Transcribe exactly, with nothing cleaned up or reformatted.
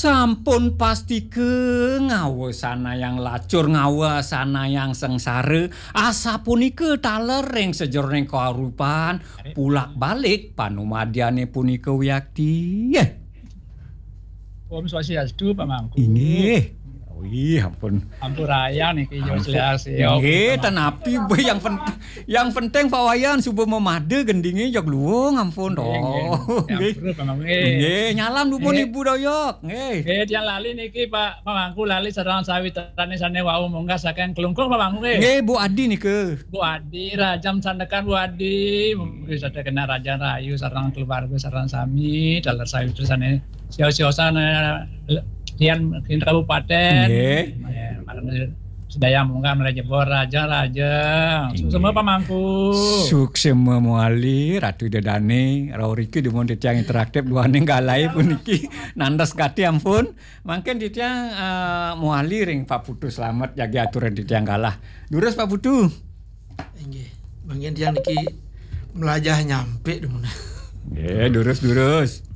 Sampun pastika ngawa sanayang lacur, ngawa sanayang sengsara, asapunika taler ring sajeroning kauripan, pulak balik panumadyané punika wiakti. Om Swastiastu, Pak Mangku. Inggih. Wih, ampun. Ampurayang niki, yo, Ampun. jelas, yo. Nggih, ten napi, Bu, yang pen-, yang penting Pak Wayan suba mamada gendingé jeg luung, ampun, toh. Nggih, nggih. Nggih. Ampura, Pak Mangku, nggih. Nggih, nyalam dumun Nggih. Ibu Doyok, nggih. Nggih, tiang lali niki, Pak, Pak Mangku, lali sareng sawitrané sané wau munggah saking Klungkung, Pak Mangku, nggih. Nggih, Bu Adi nika. Bu Adi, rajam sandekan Bu Adi, mugi sadaya kena rajan rahayu sareng keluarga sareng sami, taler sawitra sané sios-siosan, eh, tiang ring kabupaten. Nggih. Eh, marang sedaya munggah malih jebos raja-raja. Suksema, Pak Mangku. Suksema mawali, Ratu Ida Dané, rauh riki dumun titiang interaktif duaning galahé puniki. Nandes gati ampun. Mangkin titiang, eh, mawali ring Pak Putu Slamet jagi aturan titiang galah. Durus Pak Putu. Inggih. Mangkin tiang niki melajah nyampe dumun. Nggih, durus, durus.